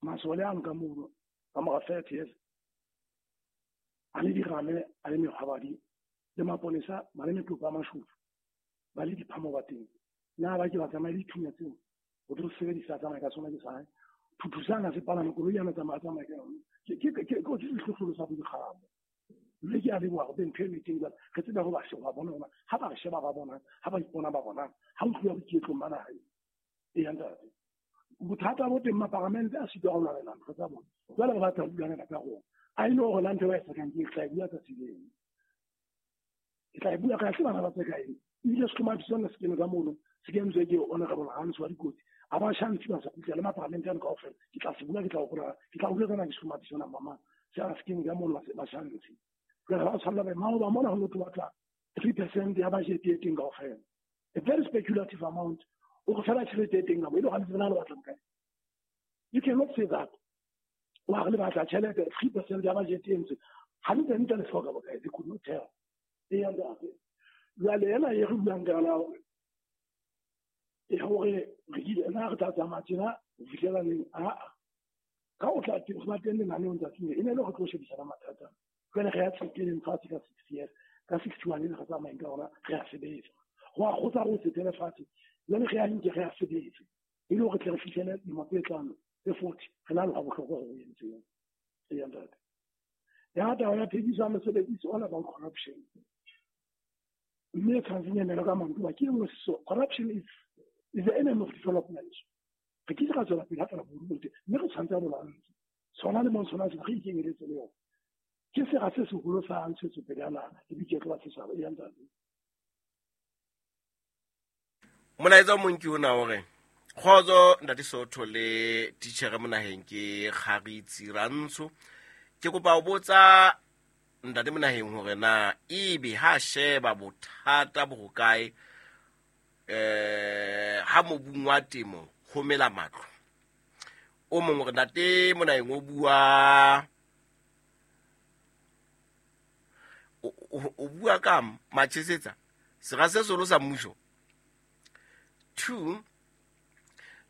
Masole a nka mono ka mora 30 years a le dirame, a le mekgwabadi le maponesa ba le metopo a mashofu, ba le diphamo ba teng. Na ba ke ba tsamaye le dithunya tseo o tlo sebedisa, tsamaya ka sona ke sae thuthusana se palame koloi yana, tsamaya tsamaya ka yone. Ke sehlohlolo sa bodikgabo, mme ke a leboha go ntho e teng. Jwale re tsebe go ba sheba bona hona ha ba re sheba ba bonang, ha ba ipona ba bonang, ha o tluwa boiketlong ba naha e ya ntate. Bothata bo teng, maparamente a sitwa go lwanela ntho tsa bona. Jwale re batla ho lwanela ka rona a ile gore la ntho ba e sekang ke tla e bua tsatsi leng, ke tla e bua ka se bana ba tse kae. Ebile sehlomathiso sona se kene ka mono, se kentswe ke Honorable Hans wa dikotsi a ba shantsi ba sa kgutla le maparamente ano kaofela. Ke tla se bua, ke tla gopola, ke tla bua tsena ke sehlomathiso sona mama se a se kene ka mono ba shantsi. Jwale ba tshwanela ba maoba mona ho no batla 3% ya budget e teng kaofela, a very speculative amount. O go fela tšhelete e teng ka mo e le gantsi bana le batlang kae? You cannot say that wa re le batla tšhelete 3% ya budget e ntse hantle ntle le hloka bokae. They could not tell. E ya ntate, jwale ena e re buang ka yona hore e hore re kile na re tla tsamaya tjena ho fihlela neng? Aa, ka o tla teng go ba teng lenaneong tsatsing e ne le go tlo shebisana mathata. Jwale re ya tseteleng fatshe ka 60 years, ka 61 e re tsamayeng ka ona, re a sebetsa go a kgotsa re o tsetele fatshe. Jwale re ya nke re a sebetse e le hore tle re fihlele dilemo tse tlano tse 40 re na le ga bohlokwa go entseng. E ya ntate, ya taba ya thekiso ya mesebetsi is all about corruption, mme e tshwanetseng emele ka manto ba ke e nngwe. So corruption is the enemy of development. Re ke ra tswela pele ha fela boruo teng, mme re tshwanetse a bolantse sona le mong sona se re ikenyeletse le yona ke sera se seholo sa ntshetsopele ya naha le boiketlo ba setjhaba. E ya ntate. Molaetsa o mong ke ona o re: kgotso ntate Sotho le titjhere Monaheng, ke Kgaritsi Rantsho. Ke kopa ho botsa ntate Monaheng hore na ebe ha sheba bothata bo hokae ha mobung wa temo ho mela matlo. O mong hore ntate Monaheng o bua o bua ka Machesetsa sera se seholo sa mmuso. Two,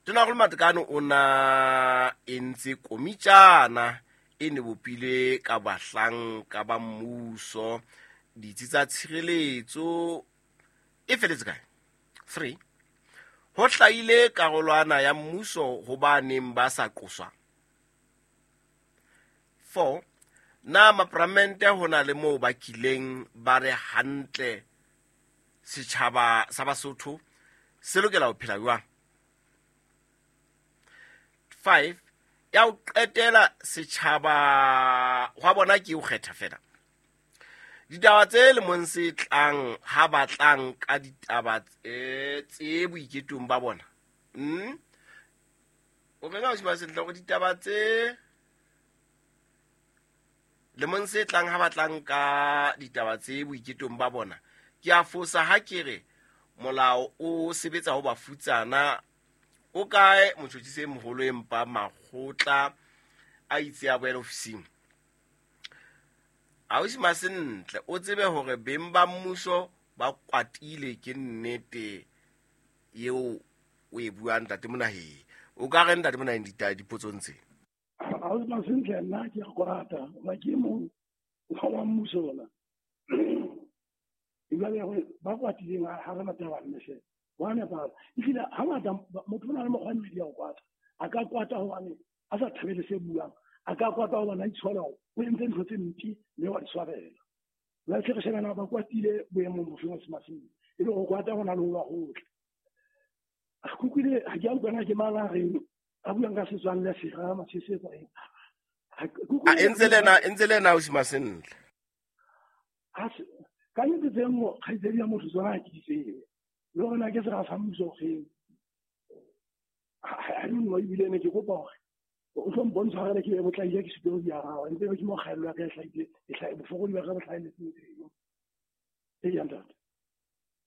Tonakgolo Matekane o na entse komitjana e ne bopile ka bahlanka ba mmuso, ditsi tsa tshireletso, e feletse kae? Three, ho hlahile karolwana ya mmuso ho ba neng ba sa qoswa. Four, na maparamente ho na le moo ba kileng ba re hantle setjhaba sa Basotho se lokela ho phela jwang? Five, ya ho qetela, setjhaba hwa bona ke ho kgetha fela ditaba tse lemong se tlang ha ba tlang ka ditaba tse boiketong ba bona. O reng ha o sentle hore ditaba tse lemong se tlang ha ba tlang ka ditaba tse boiketong ba bona? Ke a fosa ha ke re molao o sebetsa ho bafutsana? O kae motjhotjhisi e moholo empa makgotla a itse a boela ofising? Ausi Masentle, o tsebe hore beng ba mmuso ba kwatile. Ke nnete eo o e buang ntate Monaheng? O ka re ntate Monaheng dipotsong tse? Ausi Masentle, nna ke a kwata ba ke mong wa mmuso ona jwale ba kwatileng ha re taba mme hle wa nepahala. Ehlile hangata motho o na le mokgwa e mmedi ya ho kwata. A ka kwata hobane a sa thabele se buang, a ka kwata hobane a itshola hore o entse ntho tse mpe mme wa di swabela. Jwale tle re shebana ba kwatile boemong bofeng o semaseng e le ho kwata ho na le ho ba hotle. Ke utlwile, ha ke a utlwana ke mang a reng a buang ka setswalle sera Machesetsa eng. A e ntse le ena ausi Masentle. Ka nnete tse nngwe kgaitsedi ya motho tsona ha ke di tsebe le hore na ke sera sa mmuso ofeng. I don't know. Ebile ne ke kopa hore o tlo mpontsha hore ke botlaile ke supe ho di araba ntse ke mo kgaello ya ka e hlahile, bofokodi ba ka bo hlahelletseng teng. E ya ntate.